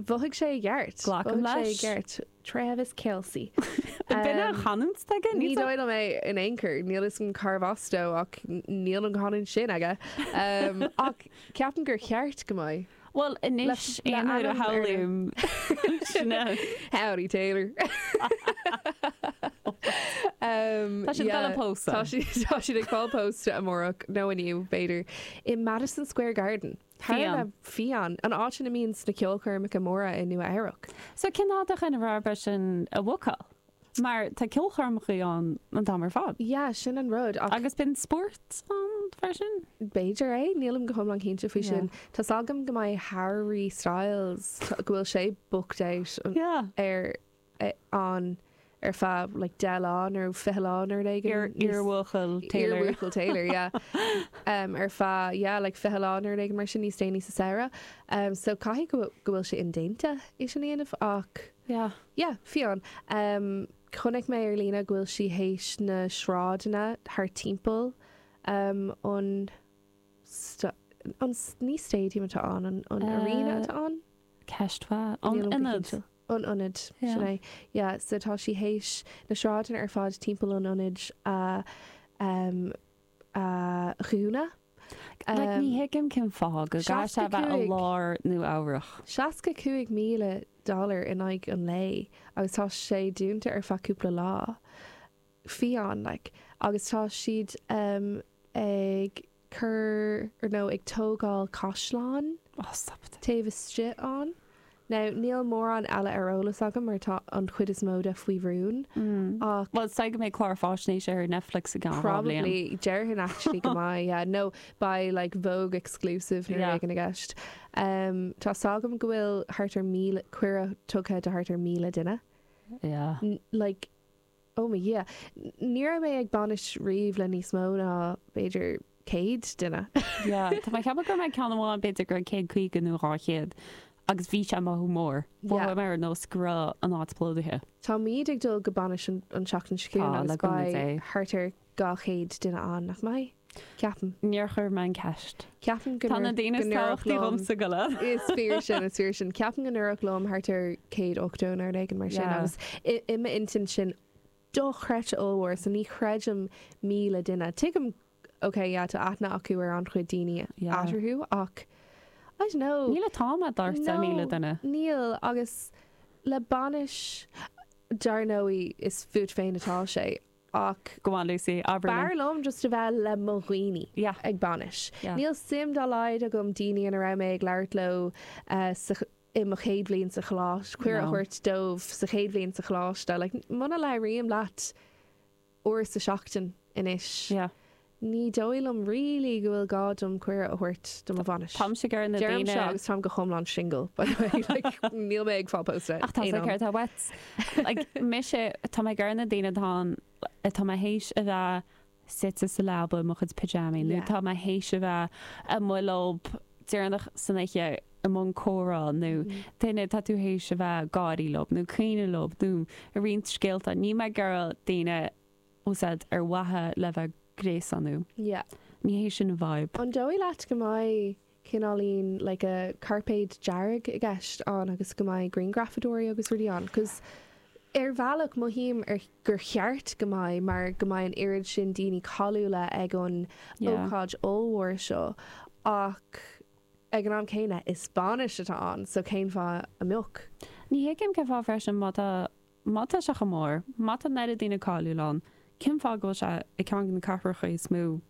Mhothaigh sé i gceart. Glacaim Mhothaigh sé i leis. gceart. Travis Kelce. B'in an chanúint aige? Ní dóigh liom é in aon chor. Níl fhios agam cárbh as dó ach níl an chanúint sin aige. Ach ceapaim gur cheart go mbeidh. Bhuel, anois Le aon uair a ainm ar shamhlaím sin é. Howdy Taylor. Tá siad ag dul a pósadh. Tá siad tá siad ag fáil pósta amárach, nó inniu, b'fhéidir, i Madison Square Garden. Fiáin. Fiáin. An áit ina mbíonn na ceolchoirmeacha móra i Nua Eabhrac. So cén fáth do dhuine arb é sin a bhookáil? Mar tá ceolchoirmeacha ann an t-am ar fad. Yeah, sin an rud ach. Agus bíonn spórt ann freisin? B'fhéidir é, nílim go hiomlán cinnte faoi sin. Tá's agam go mbeidh Harry Styles, go bhfuil sé booked out Yeah. ar ann ar feadh like 10 lá nó 20 lá nó rud éigin. Iar-bhuachaill Taylor. Iar-bhuachaill Taylor, yeah. Um, ar feadh, yeah, like 20 lá nó rud éigin mar sin níos déanaí sa samhradh. Um, so caithfidh go go bhfuil sé indéanta é sin a dhéanamh ach Yeah. yeah, fiáin. Um, chonaic mé ar líne go bhfuil sí théis na sráideanna thart timpeall um, an an ní stadium atá ann, an, an arena atá ann? Ceist mhaith. An Nílim go ionad. cinnte. An ionad, sin é. Yeah, so tá sí théis na sráideanna ar fad timpeall an ionaid a um, a dhúnadh. Like, ní thuigim cén fáth go gcaithfidh sé a bheith i lár Nua Eabhrach. $65,000 dollar in aghaidh an lae agus tá sé dúnta ar feadh cúpla lá. Fiáin, like. Agus tá siad um, ag cur, or nó ag tógáil caisleán Oh, stop it. taobh istigh ann. Now, níl mórán eile ar eolas agam mar tá an chuid is mó de faoi rún, ach. Bhuel, is dóigh go mbeidh clár faisnéise ar Netflix i gceann 2 bhliain. Probably, déarfainn actually go mbeidh, yeah. Nó beidh like Vogue exclusive nó rud Yeah. éigin i gceist. Um, tá 's agam go bhfuil thart ar 1,000, cuireadh tugtha do thart ar 1,000 duine. Yeah. Like, Oh mo Dhia. Ní raibh mé ag bainis riamh le níos mó ná, b'fhéidir, 100 duine. Yeah, tá mé ag ceapadh go raibh mé ag ceann amháin, b'fhéidir go raibh 150 nó 200 agus bhí sé mothú mór. Yeah. Mhothaigh mé ar nós go raibh an áit plódaithe. Táimid ag dul go bainis an tseachtain seo chugainn Tá, agus le cúnamh beidh Dé. thart ar 200 duine ann, nach mbeidh? Ceapaim. Níor chuir mé an ceist. Ceapaim go Tá na daoine is tábhachtaí dhomsa go le. Is fíor sin, is fíor sin. Ceapaim go ndúradh liom thart ar 180 nó rud éigin mar sin Yeah. agus i i m'intinn sin dochreidte ollmhór so ní chreidim 1,000 duine. Tuigim, ok, yeah, tá aithne acu ar an-chuid daoine Yeah. eatarthu ach I don't know. Níl an t-am a'd thart ar 1,000 duine. Níl agus le bainis, dar ndóigh is fút féin atá sé Ach. Go on Lucy, abair linn. B'fhearr liom just a bheith le mo dhaoine Yeah. ag bainis. Yeah. Níl suim dá laghad agam daoine ina raibh mé ag labhairt leo sa i mo chéad bhliain sa choláiste, cuireadh a No. thabhairt dóibh sa chéad bhliain sa choláiste. Like, muna labhraím leat uair sa seachtain anois, Yeah. ní dóigh liom really go bhfuil gá dom cuireadh a thabhairt do mo bhainis. Táimse ag iarraidh na Deirim daoine. seo agus táim go hiomlán single, by the way. Like, níl mé ag fáil pósta Ach tá aon sé am. céard atá uait. Like, mise, tá mé ag iarraidh na daoine atá ann, atá mé théis a bheith suite sa leaba i mo chuid pyjamaí nó Yeah. tá mé théis a bheith amuigh leo deireanach san oíche i mbun comhrá nó duine atá tú théis a bheith ag gáirí leo nó caoineadh leo nó ag roinnt scéalta. Níl mé ag iarraidh daoine úsáid ar mhaithe le bheith gréasánú. Yeah. Ní hé sin an vibe. An dóigh leat go mbeidh cineáilín like a cairpéad dearg i gceist ann agus go mbeidh grianghrafadóirí agus rudaí ann? 'Cause ar bhealach mothaím ar gur cheart go mbeidh mar go mbeidh an oiread sin daoine cáiliúla ag an Yeah. ócáid ollmhór seo ach ag an am céanna is bainis atá ann so cén fáth a mbeadh? Ní thuigim cén fáth freisin má tá Má tá sé chomh mór, má tá an oiread daoine cáiliúil ann, cén fáth go bhfuil sé i ceann de na cathracha is mó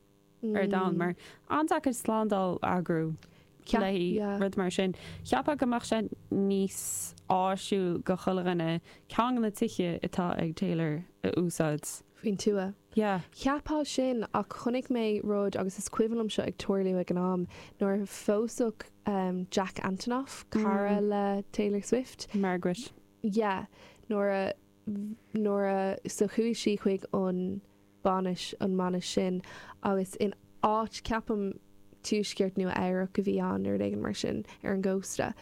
ar domhan? Mar an-deacair slándáil a eagrú le haghaidh rud mar sin. Cheapfá go mbeadh sé níos áisiúil go chuile dhuine ceann de na tithe atá ag Taylor a úsáid. Faoin tuath. Yeah. Cheapfá sin ach chonaic mé rud agus is cuimhin liom seo ag tarlú ag an am nuair a phósadh Jack Antonoff, cara le Taylor Swift. Margaret. yeah nuair a nuair a so chuaigh sí chuig an bainis an mbainis sin agus in áit ceapaim tuaisceart Nua Eabhrac a bhí ann nó rud éigin mar sin ar an gcósta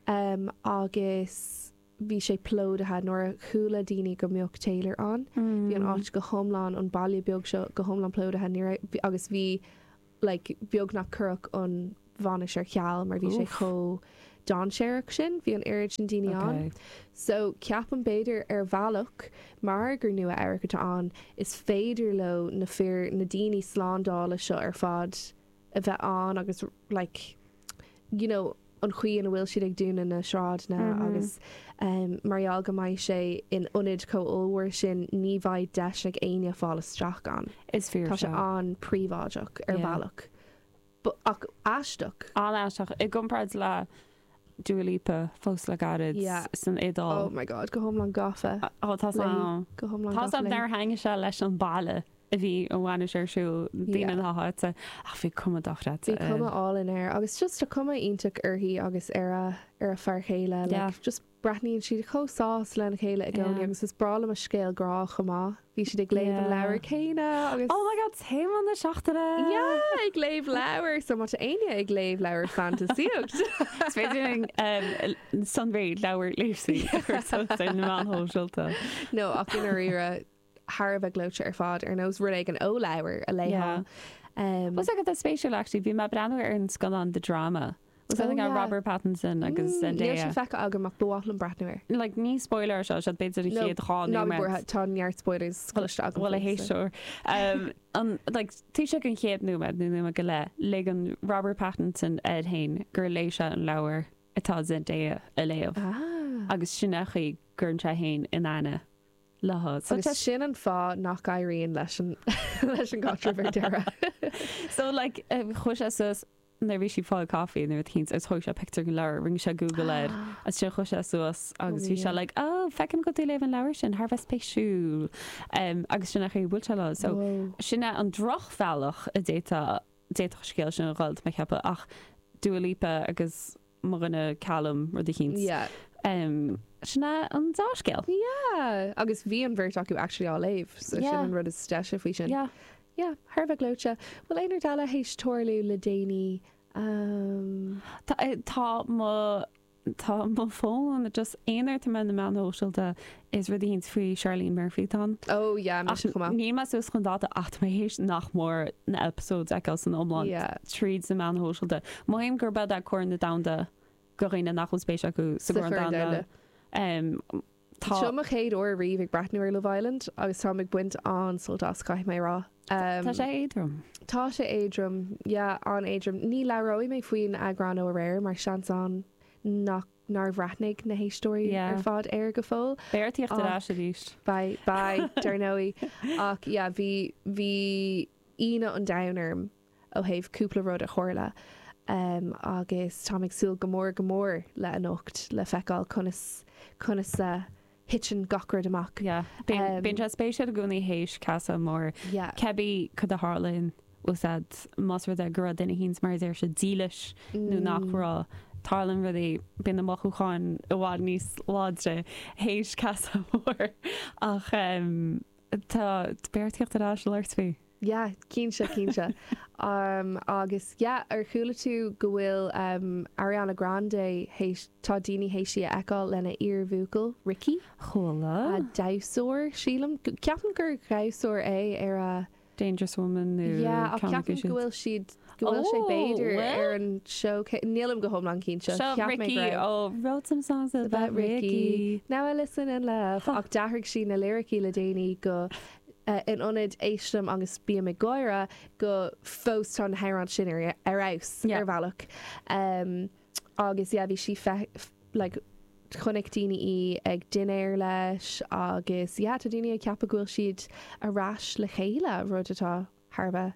um, agus bhí sé plódaithe nuair a chuala daoine go mbeadh Taylor ann bhí an áit go hiomlán an baile beag seo go hiomlán plódaithe ní raibh agus bhí like beagnach cuireadh an bhainis ar ceal mar bhí sé Oof. chomh. dainséarach sin, bhí an oiread sin daoine ann. So ceapaim b'fhéidir ar bhealach, mar gur Nua Eabhrac atá ann, is féidir leo na fir, na daoine slándála seo ar fad a bheith ann agus like you know an chaoi ina bhfuil siad ag dúnadh na sráideanna agus mar gheall go mbeidh sé in ionad chomh ollmhór sin ní bheidh deis ag éinne fáil isteach ann. Is fíor Tá sé seo. an-príobháideach ar Yeah. bhealach. Ach aisteach. An-aisteach i gcomparáid le Dua Lipa fós le gairid Yeah. san Iodáil. Oh my God, go hiomlán gafa Ó tá léi. am. Go hiomlán Tá gafa am léi. nár thaitnigh sé leis an baile a bhí an bhainis ar siúl, daoine Yeah. na háite, ach bhí cuma dochreidte Bhí cuma air. álainn air agus just tá cuma iontach uirthi agus ar a ar a fear chéile. Yeah. Like, just Breathnaíonn siad chomh sásta lena chéile i gcónaí Yeah. agus is breá liom a scéal grá chomh maith. Bhí siad ag léamh an Yeah. leabhar céanna agus. Oh my god, téama na seachtaine! Yeah, ag léamh leabhar! So má tá éinne ag léamh leabhar fantasíocht. Is féidir linn um, sonraí leabhar Lucy a chur suas ar na meáin shóisialta. No, ach i ndáiríre, thar a bheith gleoite ar fad, ar nós rud éigin ó leabhar a léifeá. Yeah. Um, Was agat spéisiúil actually, bhí mé ag breathnú ar an scannán The Drama. Was Oh, I think yeah. Robert Pattinson agus Níl Zendaya. sin feicthe agam ach ba mhaith liom breathnú air. Like ní spoiler seo siad b'fhéidir an No, chéad dhá Ná bí nóiméad. buartha, tá neart spoilers cloiste agam. Bhuel a faoi, so. héisteoir. Um, an, like, taobh istigh den chéad nóiméad nó nóiméad go leith, ligeann Robert Pattinson air féin gur léigh sé an leabhar atá Zendaya a léamh. Ah. Agus sin é an chaoi go gcuireann sé féin in aithne léi. So Agus tá sin an fáth nach éiríonn leis an leis an gcaidreamh ar deireadh. So like chuaigh sé suas nuair a bhí sí ag fáil caife nó rud eicínt agus thóg sé pictiúr den leabhar, rinne sé Google air agus sin chuaigh sé suas agus bhí sé like oh feicim go bhfuil tú ag léamh an leabhar sin, thar a bheith spéisiúil um, agus sin é an chaoi a bhuail sé léi. So Whoa. sin é an drochbhealach a d'fhéadfadh d'fhéadfadh an scéal sin a dhul, tá mé ag ceapadh ach Dua Lipa agus mo dhuine Callum rud eicínt. Yeah. Um, sin é an dea-scéal. Yeah. Agus bhí an bheirt acu actually á léamh, so sin Yeah. an rud is deise faoi sin. Yeah. Yeah, thar a bheith gleoite. Bhfuil aon rud eile théis tarlú le déanaí? Um, Tá, eh, tá mo tá mo fón just aon uair atá mé ar na meáin shóisialta is rud eicínt faoi Charlene Murphy atá ann. oh yeah, Ach mise chomh maith. níl mé suas chun dáta ach tá mé théis nach mór na episodes a fheiceáil san iomlán Yeah. tríd na meáin shóisialta. Mothaím gurb é é Corn an Domhanda do dhaoine nach bhfuil spéis acu sa Sa gCorn Chorn Domhanda. Domhanda. Um, tá Seo mo chéad uair riamh ag breathnú ar Love Island agus táim ag baint an-sult as, caithfidh mé a rá. Um, Tá sé éadrom. Tá sé éadrom, yeah, an-éadrom. Ní labhróidh mé faoin eagrán ó aréir mar seans ann nach nár bhreathnaigh na héisteoirí Yeah. ar fad air go fóill. Beidh ort tíocht ar Ach. ais arís. Beidh, beidh, dar ndóigh. Ach yeah, bhí, bhí ionadh an domhain orm ó thaobh cúpla rud a tharla. Um, agus táim ag súil go mór go mór le anocht le feiceáil conas, conas a thiteann gach rud amach. Yeah. Bíonn bíonn sé spéisiúil i gcónaí théis casadh mór. Yeah. Cibé cad a tharlaíonn úsáid más rud é go raibh duine eicínt mar a deir siad dílis nó nach raibh. Tarlaíonn rudaí, bíonn na mothúcháin i bhfad níos láidre théis casadh mór ach tá beidh ort tíocht ar ais le labhairt faoi. Yeah, cinnte, cinnte. Um, agus yeah, ar chuala tú go bhfuil um, Ariana Grande théis, tá daoine théis í a fheiceáil lena iarbhuachaill, Ricky? Chuala. A damhsóir, sílim. Ceapaim gur dhamhsóir é ar a. Dangerous Woman nó Yeah, ach ceann acu ceapaim siúd. go bhfuil siad, go bhfuil sé Oh, b'fhéidir bhfuil? ar an seó cé, nílim go hiomlán cinnte. Seo Cheap mé go Ricky raibh. ó Wrote some songs about About Ricky. Ricky. Now I listen and laugh. Huh. Ach d'athraigh sí na liricí le déanaí go eh, in ionad éistim agus bím ag gáire go fós tá na hamhráin sin ar ar fheabhas Yeah. ar bhealach. Um, agus yeah, bhí sí fe, like, chonaic daoine í ag dinnéar leis agus yeah, tá daoine ag ceapadh go bhfuil siad ar ais le chéile, rud atá thar a bheith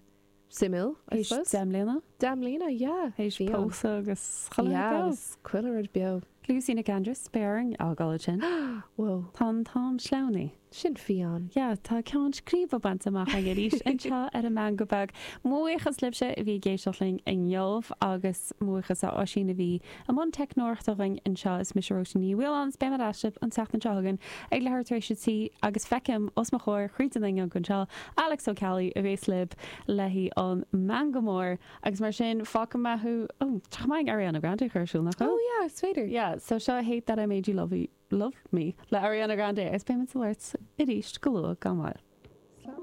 suimiúil, I Théis suppose. 10 mbliana? 10 mbliana, yeah. Théis Bhí ann. pósadh agus chuile Yeah, rud beo. agus chuile rud beo. Lucy Nic Aindreas, beidh orainn fhágáil ansin. Whoa. Tá an t-am sleamhnaithe. Sin fiáin. Yeah, tá ceann scríbe bainte amach againn arís anseo ar an Meangadh Beag. Mo bhuíochas libhse a bhí ag éisteacht linn inniu agus mo bhuíochas a Oisín a bhí i mbun teicneoireachta againn anseo. Is mise Róisín Ní Mhaoláin is beidh mé ar ais libh an tseachtain seo chugainn ag leathuair tar éis a 3 agus feicim os mo chomhair thríd an fhuinneog anseo Alex Ó Ceallaigh a bhéas libh le haghaidh an Meangadh Mór agus mar sin fágfaidh mé thú oh tá chomh maith Ariana Grande a chur ar siúl nach bhfuil? Oh yeah, is féidir. Yeah, so seo Hate That I Made You Love You Love Me le Ariana Grande agus beidh muid ag labhairt arís go luath gan mhoill. Slán.